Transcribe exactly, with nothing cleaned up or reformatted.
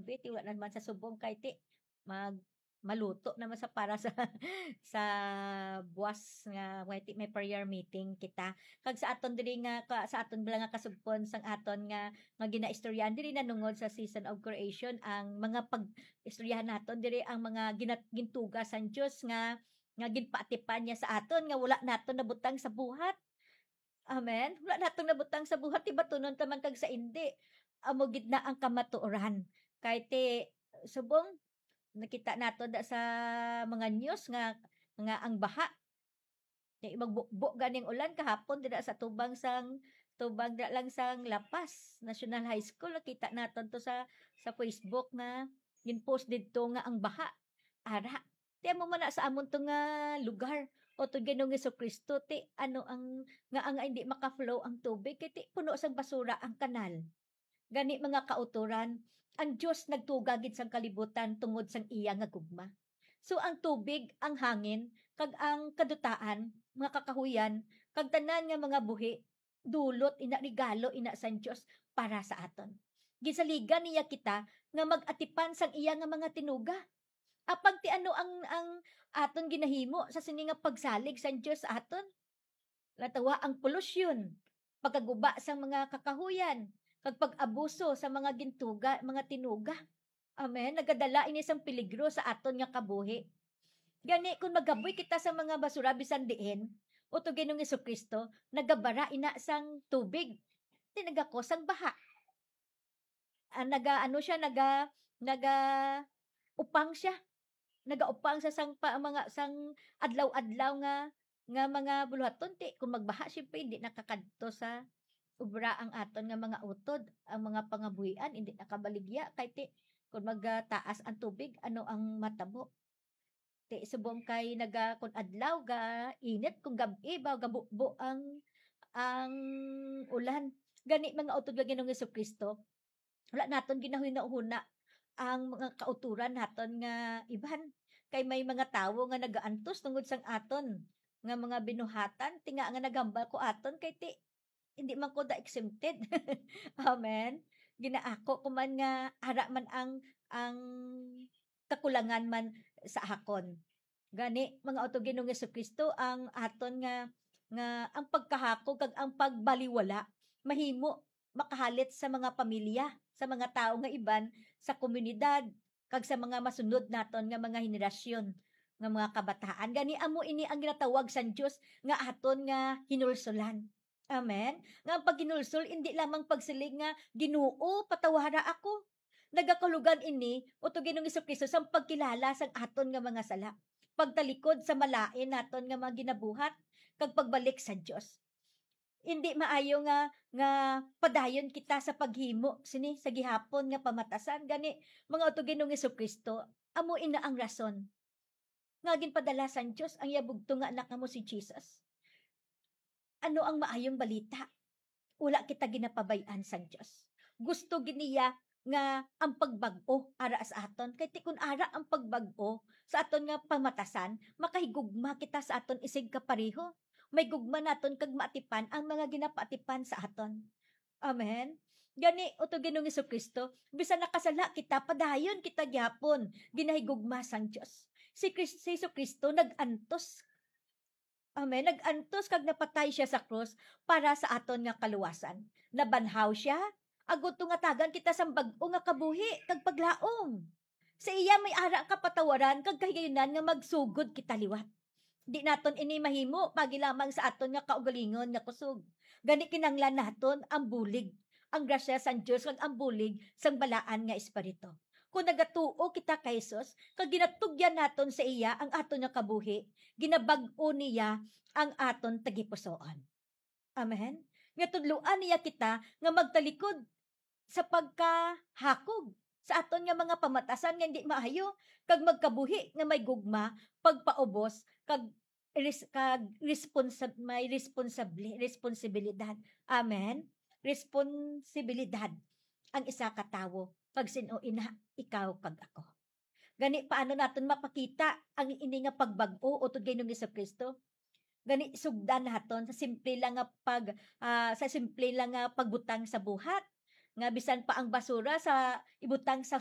kape, ti wala naman sa subong kay ti mag-, maluto naman sa para sa, sa buwas nga may ti-, may prayer meeting kita. Kag sa aton diri nga ka-, sa aton bala nga kasugpon sang aton nga, nga ginaistoryahan diri nanungod sa season of creation, ang mga pag-istoryahan naton diri ang mga ginat-, gintuga sang Dios nga, nga ginpaatipan niya sa aton nga wala naton nabutang sa buhat. Amen. Wala naton nabutang sa buhat, ti batunon ta man kag sa indi. Amo gid na ang kamatuoran. Kay ti subong nakita nato da sa mga news nga, nga ang baha. Kay magbubo ganing ulan kahapon dira sa tubang sang, tubang dira lang sang La Paz National High School. Nakita naton to sa, sa Facebook nga gin-post didto nga ang baha. Ara, ti amo man na sa amon to nga lugar. O to Ginoong Jesu-Cristo, ti ano ang, nga ang hindi maka-flow ang tubig, kay ti puno sang basura ang kanal. Gani, mga kautoran, ang Dios nagtuga gid sang kalibutan tungod sang iya nga gugma. So, ang tubig, ang hangin, kag ang kadutaan, mga kakahuyan, kag tanan nga mga buhi, dulot ina, regalo ina sang Dios para sa aton. Gisaligan niya kita nga mag-atipan sang iya nga mga tinuga. Apang ti ano ang, ang aton ginahimo sa sini nga pagsalig sang Dios sa aton? Natawa ang polusyon, pagkaguba sang mga kakahuyan, kag pag-abuso sa mga gintuga, mga tinuga. Amen. Nagadala ini sang peligro sa aton nga kabuhi. Gani, kung magaboy kita sa mga basura bisan diin, o to Ginoong Jesu-Cristo, nagabara ina sang tubig. Ti nagakos sang baha. Ah, naga-, ano siya, naga-, naga-upang siya. Nagaupang sa sang pa, mga, sang adlaw-adlaw nga, nga mga buluhaton, ti, kung magbaha, siyempre, hindi nakakadto sa obra ang aton nga mga utod, ang mga pangabuhian, hindi nakabaligya, kay ti, kung magtaas ang tubig, ano ang matabo? Ti, subong kay naga-, kung adlaw, ga init, kung gab-i ba, gabubo ang, ang ulan. Gani, mga utod nga Ginoong Jesu-Cristo, wala naton ginahunahuna ang mga kauturan naton nga iban. Kay may mga tawo nga nagaantos tungod sang aton nga mga binuhatan, ti nga, nga nagambal ko aton, kay ti, hindi man ko da exempted. Amen. Ginaako ko man nga ara man ang, ang kakulangan man sa akon. Gani, mga utod Ginoong Jesu-Cristo, ang aton nga, nga ang pagkahakog kag ang pagbaliwala mahimo makahalit sa mga pamilya, sa mga tawo nga iban, sa komunidad, kag sa mga masunod naton nga mga henerasyon nga mga kabataan. Gani, amo ini ang ginatawag sang Dios nga aton nga hinulsolan. Amen. Nga ang paghinulsol indi lamang pagsiling nga, "Ginoo, patawara ako." Nagakahulugan ini, utod Ginoong Jesu-Cristo, sang pagkilala sang aton nga mga sala, pagtalikod sa malain naton nga mga ginabuhat, kag pagbalik sa Dios. Indi maayo nga, nga padayon kita sa paghimo sini sa gihapon nga pamatasan. Gani, mga utod Ginoong Jesu-Cristo, amo ina ang rason nga ginpadala sang Dios ang iya bugtong nga Anak nga amo si Jesus. Ano ang maayong balita? Wala kita ginapabay-an sang Dios. Gusto gid niya nga ang pagbag-o ara sa aton. Kay ti kun ara ang pagbag-o sa aton nga pamatasan, makahigugma kita sa aton isig kapareho. May gugma naton kag maatipan ang mga ginapaatipan sa aton. Amen. Gani, utod Ginoong Jesu-Cristo, bisan nakasala kita, padayon kita gihapon ginahigugma sang Dios. Si Kris-, si Jesu-Cristo nag-antos. Amen. Nag-antos kag napatay siya sa krus para sa aton nga kaluwasan. Nabanhaw siya, agod tungatagan kita sang bag-o nga kabuhi kag paglaom. Sa iya may ara ang kapatawaran kag kahigayunan nga magsugod kita liwat. Di naton ini mahimo pagi lamang sa aton nga kaugalingon nga kusog. Gani, kinahanglan naton ang bulig, ang grasya sang Dios kag ang bulig sang Balaan nga Espiritu. Kung nagatuo kita kay Jesus, kag ginatugyan naton sa iya ang aton nga kabuhi, ginabag-o niya ang aton tagipusoon. Amen. Nga tudloan niya kita nga magtalikod sa pagkahakog sa aton nga mga pamatasan nga hindi maayo, kag magkabuhi nga may gugma, pagpaubos, kag res-, kag responsab-, may responsable, responsibilidad. Amen. Responsibilidad ang isa ka tawo, kag sin-o ina, ikaw kag ako. Gani, paano naton mapakita ang ini nga pagbag-o utod kay Ginoong Jesu-Cristo? Gani, sugdan naton sa simple lang nga pag-, ah, sa simple lang nga pagbutang sa buhat, nga bisan pa ang basura sa ibutang sa